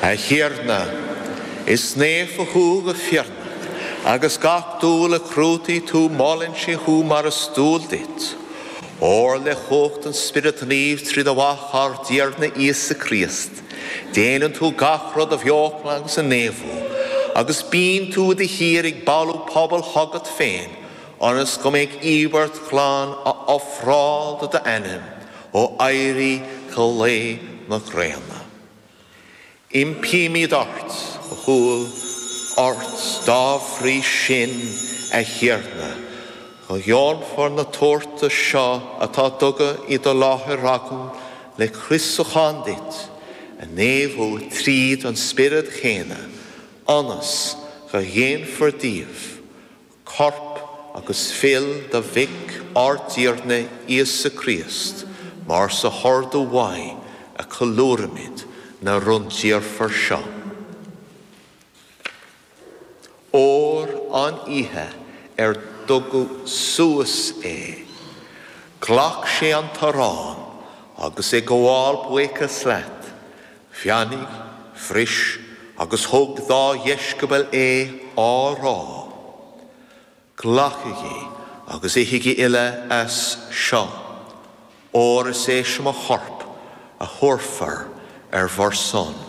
A Thiarna, is naofa thú go fírinneach, agus gach dúil a chruthaigh tú molann sé thú mar is dual duit. Óir le cumhacht an Spioraid Naoimh trí do Mhac ár dTiarna Íosa Críost, déanann tú gach rud a bheochan agus a naomhú, agus bíonn tú de shíor ag bailiú pobal chugat féin, ionas go mbeidh íobairt ghlan á ofráil do d'ainm ó éirí go luí na gréine. Impímid ort, go humhal ort dá bhrí sin, a Thiarna, go ndéanfair na tabhartais seo atá tugtha i do láthair againn le croísúchán duit a naomhú tríd an Spiorad chéanna, ionas go ndéanfar díobh Corp agus fuil do Mhic ár dTiarna Íosa Críost, mar sa hordú uaidh a ceiliúraimid na rúndiamhra seo. Óir an oíche ar tugadh suas é, ghlac sé an t-arán agus ag gabháil buíochas leat, Bheannaigh, bhris agus thug dá dheisceabail é á rá, Glacaigí agus ithigí uile as seo, óir is é seo mo chorp a thabharfar ar bhur son.